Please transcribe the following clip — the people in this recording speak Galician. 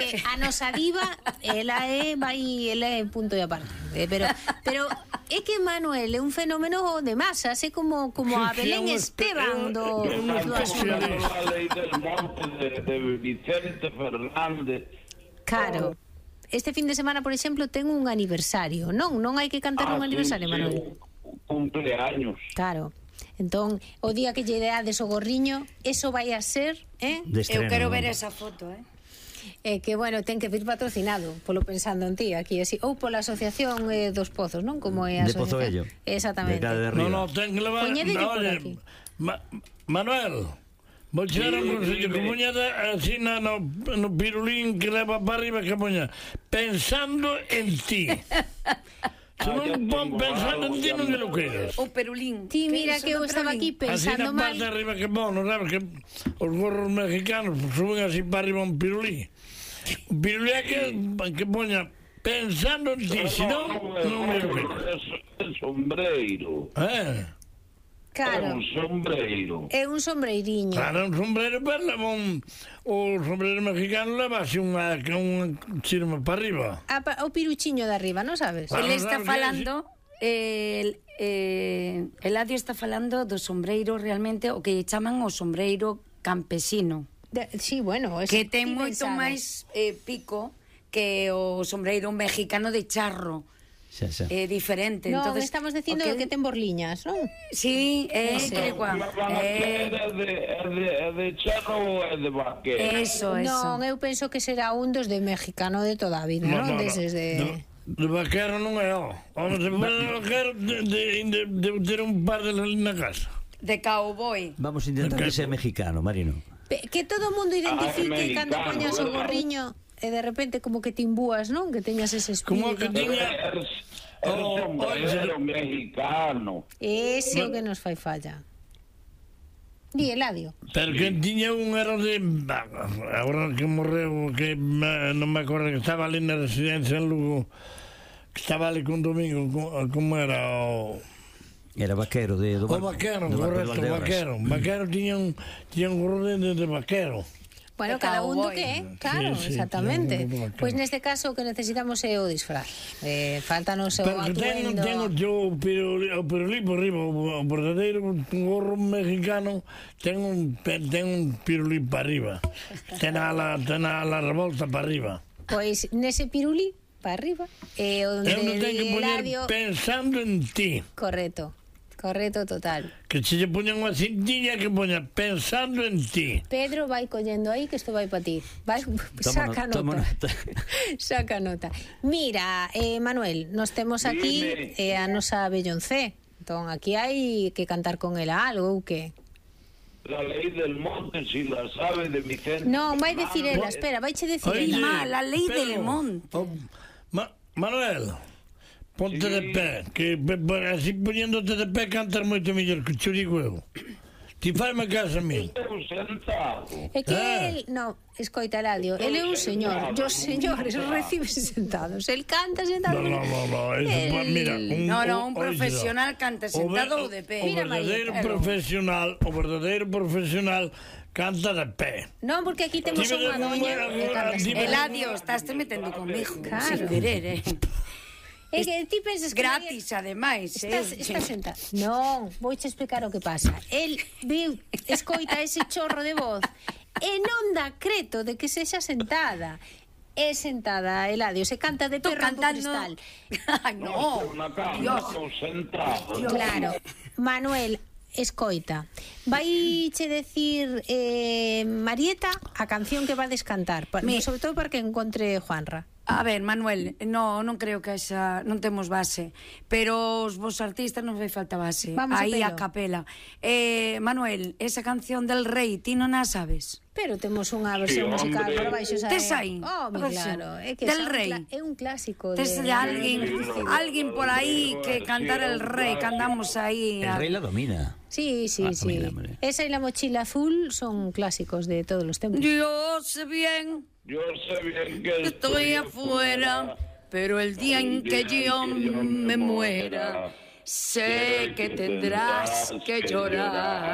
que a nosa diva, ela é punto e aparte. Pero é que Manuel é un fenómeno de masas, é como a Belén Esteban do Asunto. A lei del monte de Vicente Fernández. Claro. Este fin de semana, por exemplo, ten un aniversario, non? Non hai que cantar un aniversario, Manuel. Cumpleaños. Claro. Entón, o día que lle deades o gorriño, eso vai a ser, Eu quero ver esa foto, que, bueno, ten que vir patrocinado, polo Pensando en Ti, aquí, así, ou pola Asociación dos Pozos, non? Como é a De Pozo asociación. Vello. Exactamente. No, ten que levar... Poñedelle por aquí. Manuel, vou chegar un consello que poñada así no pirulín que leva para arriba, que poña Pensando en Ti. Se non pon Pensando en Ti, non que lo queres. O perulín. Ti, mira que eu estaba aquí pensando mal. Así na parte arriba que pon, non sabes que os gorros mexicanos suben así para arriba un pirulín. Un pirulín é que poña Pensando en Ti, se non me lo queres. É sombreiro. Claro. É un sombreiro. É un sombreiriño. Claro, un sombrero, pero leva o sombrero mexicano leva así unha chirma para arriba. O piruchiño de arriba, non sabes? Ele está falando... Eladio está falando do sombreiro realmente, o que chaman o sombreiro campesino. Sí, bueno, que ten moito máis pico que o sombreiro mexicano de charro. É diferente. Non, entonces, estamos dicindo que ten borliñas, non? Sí, é igual. É de charro ou é de vaquero? Eso. Non, eu penso que será un dos de mexicano de toda a vida, non? Deses de... De vaquero non é, Vamos, se for de vaquero, de ter un par de na casa. De cowboy. Vamos a intentar que sea mexicano, Marino. Que todo o mundo identifique cando poñas o gorriño e de repente como que te imbúas, non? Que teñas ese espírito. Como que tiña... É sombrero mexicano. Ese é o que nos fai falla. Di, Eladio. Pero que tiña un era de... Agora que morreu, que non me acordo, que estaba ali na residencia en Lugo, que estaba ali con Domingo, como era o... Era vaquero de... O vaquero, correcto, vaquero. Vaquero tiña un gorro de vaquero. Bueno, cada un do que é, claro, sí, exactamente. Pois neste caso o que necesitamos é o disfraz. Faltanos o atuendo. Pero tengo o pirulí por arriba, o verdadeiro gorro mexicano ten un pirulí para arriba. Ten a la revolta para arriba. Pois nese pirulí para arriba é onde eu non tenho que poñer Pensando en Ti. Correcto, total. Que se lle poñan unha cintiña que poña Pensando en Ti. Pedro vai collendo aí que isto vai para ti. Saca nota. Saca nota. Mira, Manuel, nos temos aquí a nosa Belloncé. Entón, aquí hai que cantar con ela algo ou que? La lei del monte, si la sabe de Vicente. Non, vai decir ela, espera, vaiche decir ela. La lei del monte. Manuel, ponte de pé, que así poniéndote de pé cantas moito mellor que cho digo eu. Ti faime caso a mí. É que el, non, escoita, Eladio, ele é un señor, e os señores reciben sentados, el canta sentado. No, mira, un profesional canta sentado ou de pé. O verdadeiro profesional canta de pé. Non, porque aquí temos unha doña que canta sentado. Eladio, estás te metendo conmigo, sin querer, É que ti pensas que... Gratis, ademais, Está sentado. Non, vouche explicar o que pasa. El escoita ese chorro de voz e non dá creto de que sexa sentada. É sentada, Eladio, se canta de perro do cristal. No, Dios. Claro, Manuel, escoita, vaiche decir Marieta a canción que va a descantar, sobre todo para que encontre Juanra. A ver, Manuel, non creo que non temos base, pero os vos artistas non fai falta base. Aí a capela. Manuel, esa canción del Rei, ti non a sabes? Pero temos unha versión musical para baixo. Tes aí? Claro, é que del Rei. É un clásico. Tes alguén por aí que cantar el Rei, cantamos aí. El Rei la domina. Sí. Esa y la mochila azul son clásicos de todos los tiempos. Yo sé bien que estoy afuera, pero el día en que yo me muera, sé que tendrás que llorar.